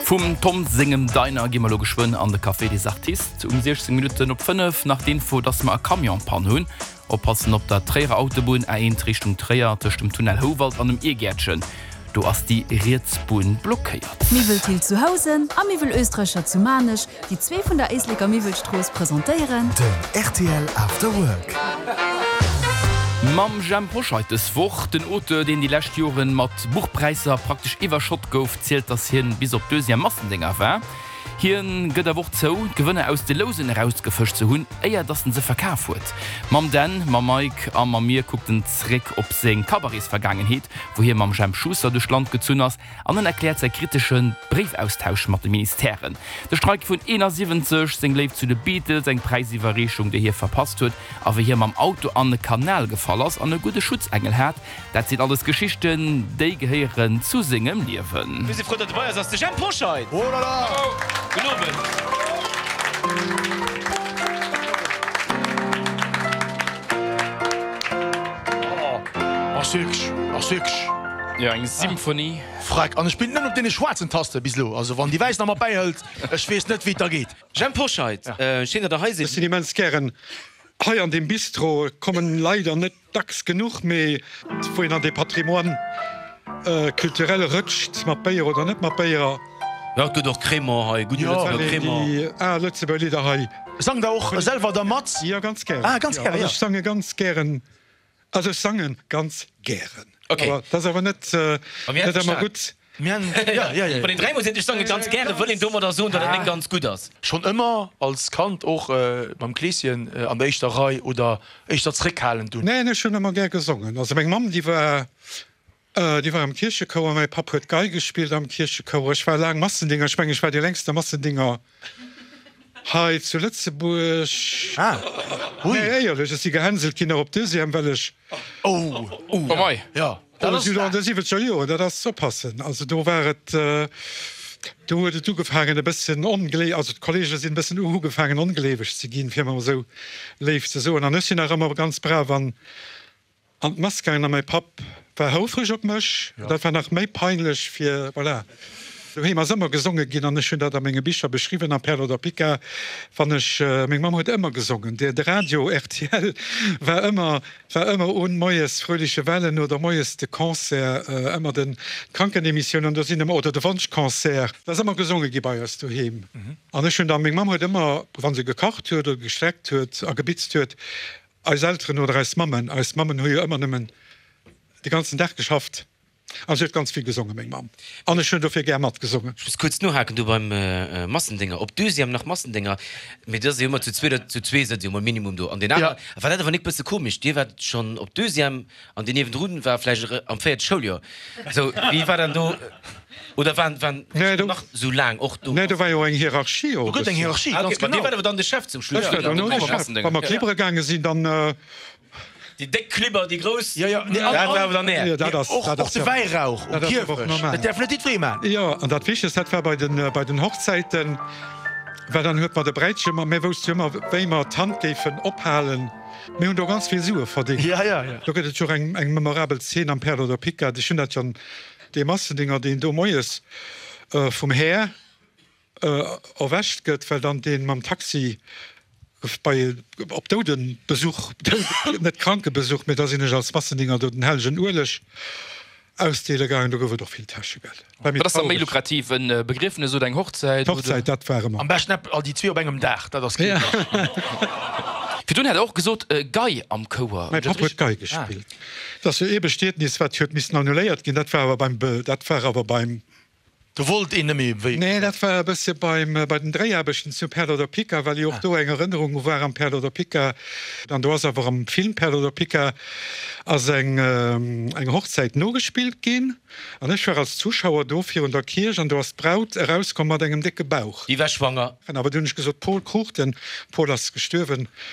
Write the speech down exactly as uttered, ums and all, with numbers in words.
Vum Tom sengem Diner gi mer lo geschwënn an de Café des Artistes. Um siechzéng Minutten op fënnef nach d'Info, dass mer e Camion-Panne hunn. Oppassen op der Tréierer Autobunn A eent Richtung Tréier tëscht dem Tunnel Houwald an dem Irgäertchen. Do ass déi riets Bunn blockéiert. Miwwel Thill zu Housen a Miwwel Oestreicher zu Maarnech, déi zwee vun der Éisleker Miwwelstrooss presentéieren. Den rtl After Work. Mam Jhemp Hoscheit dës Woch. Den Auteur, deen déi lescht Joren mat Buchpräisser praktesch iwwerschott gouf, zielt, dass hien bis op Deuxième Massendénger war. Hien gëtt awer och zou, d'Gewënner aus de Lousen erausgefëscht ze hunn, éier dass en se verkaf huet. Mam Dan, mam Mike a mam mir kuckt en zréck op seng Cabaretsvergaangenheet, wou hie mam Jemp Schuster duerch d'Land gezunn ass, an en erkläert säi kritesche Bréifaustausch mat de Ministèren, de Streik vun eenasiwwenzeg, seng Léift zu de Beatles, eng Präisiwwerreechung, déi hie verpasst huet, a wéi hie mam Auto an e Kanal gefall ass an e gudde Schutzengel hat. Dat sinn alles Geschichten, déi gehéieren zu sengem Liewen. Mir si frou, datt e bei eis ass, de Jhemp Hoscheit! Oh là là! Gudden Owend! Ass wierklech, ass wierklech. Jo, eng Symphonie. Freck, an e spillt nëmmen op deene schwaarzen Taste bis elo. Also wann déi wäiss nach mat bäihëlt, ech weess net wéi et da geet. Jhemp Hoscheit, schéin datt der hei Ech sidd. sinn immens gären hei an deem Bistro, kommen leider net dacks genuch, mee wou een an dee Patrimoine culturel rëtscht, mat Béier oder net mat Béier. Jo, et gëtt och Crémant hei, gudde Lëtzebuerger Crémant. Déi al Lëtzebuerger Lidder hei. Sangt Der och selwer da mat? Jo, ganz gären. Ah, ganz gären, jo. Also ech sange ganz gären, also ech sange ganz gären. Ok. Awer dat ass awer net net ëmmer gutt. Wann een dräimol seet, ech sange ganz gären, wëll een domadder soen, datt et net ganz gutt ass. Schonn ëmmer als Kand och mam Kleeschen an der éischter Rei oder éischter zréckhalend dunn? Neen, ech hunn ëmmer gär gesongen. Also meng Mamm, déi war, déi war am Kierchechouer, mäi Papp huet Gei gespillt am Kierchechouer. Ech war laang Massendinger, ech mengen, ech war dee längste Massendinger hei zu Lëtzebuerg. Ah, hui. Nee, éierlech, ech si gehänselt ginn och op Deuxième, well ech. Oh, Oh mei. Jo, dat ass. An de siwwenzeger Joren, dat ass oppassen, also do war et, do huet et ugefaangen e bëssen onglee, also d'Kollege sinn e bëssen ugefaangen ongleeweg ze ginn, fir emol esou léif ze soen. An ech sinn nach ëmmer ganz brav an an d'Mass gaangen a mäi Papp war houfreg op mech. Dat war nach méi peinlech fir, voilà. Doheem ass ëmmer gesonge ginn an ech hunn dat a menge Bicher beschriwwen, am Perle oder Pica, wann ech, meng Mamm huet ëmmer gesongen, de Radio rtl war ëmmer, war ëmmer un, moies Fröhliche Wellen oder moies de Concert, ëmmer den d'Krankenemissioun an do sinn ëmmer, oder de Wonschconcert, et ass ëmmer gesonge gi bei eis doheem. An ech hunn da, meng Mamm huet ëmmer, wa se gekacht huet oder gestreckt huet a gebitzt huet, eis Elteren oder eis Mammen, eis Mammen hu jo ëmmer nëmmen de ganzen Dag geschafft. An si huet ganz vill gesongen, meng Mamm. An ech hunn dofir gär matgesongen. Ech muss kuerz nohaken do beim Massendénger. Op Deuxième nach Massendénger, mee dat ass jo ëmmer zu zwee, zu zwee sëtzt jo mol minimum do. An deen aner, war dat awer nik bësse komesch? Dir waart schonn op Deuxième an deen niewendrun war vläicht am véierte Schouljoer. Sou, wéi war dann do, oder waren, waren nach sou laang och do? Nee, do war jo eng Hierarchie och e Do gëtt eng bëssen. Hierarchie, Ah, ganz okay, ma dir genau. waart awer dann de Chef zum Schluss. Ech war dann och de Chef. Wa mer klibbere gaange sinn, dann. Déi déck Klibber, déi grouss, Jo, jo, nee, an, dat war an, awer dann är. Jo, dat ass, och, dat och ass de jo, Wäirauch um dat ass awer och Kierfecht, normal. dat däerf net jiddweree man. Jo, an dat Wichtegst, dat war bei den, bei den Hochzäiten, well dann huet mer de Bräitche, ma mir wousste jo ëmmer, wéi mer d'Hand géifen ophalen. Mir hunn do ganz vill Sue verdéngt. Ja, ja, ja. Do gëtt et jo och eng, eng memorabel Zeen am Perle oder Picard. Ech hunn dat jo, dee Massendinger, deen do moies vum Här erwächt gëtt, well dann dee mam Taxi bei op Doudenbesuch, net Krankebesuch, mee da sinn ech als Massendinger do den hellegen Ueleg ausdeele gaangen. Do gouf et och vill Täschegeld. War Wat méi ass da méi traureg. lukrativ, e Begriefnes oder eng Hochzäit? Oder? D'Hochzäit, dat war ëmmer. Am beschten all déi zwee op engem Dag, dat ass keen. Virdrun hat Der och gesot, Gei am Chouer. Mäi Papp huet Gei gespillt. Dat ass jo ee Bestietnis, wat huet missen annuléiert ginn. Dat war awer beim, dat war awer beim. Do wollt een net méi wéi. Nee, dat war e bësse beim, bei den Dréiaarbechten zu Perle oder Pica, well jo och do eng Erënnerung war am Perle oder Pica. An do ass awer am Film Perle oder Pica ass eng, eng Hochzäit nogespillt ginn. An ech war als Zuschauer do virun der Kierch an do ass d'Braut erauskomm mat engem décke Bauch. Déi war schwanger. Awer du hunn ech gesot, Paul Cruchten, Paul ass gestuerwen,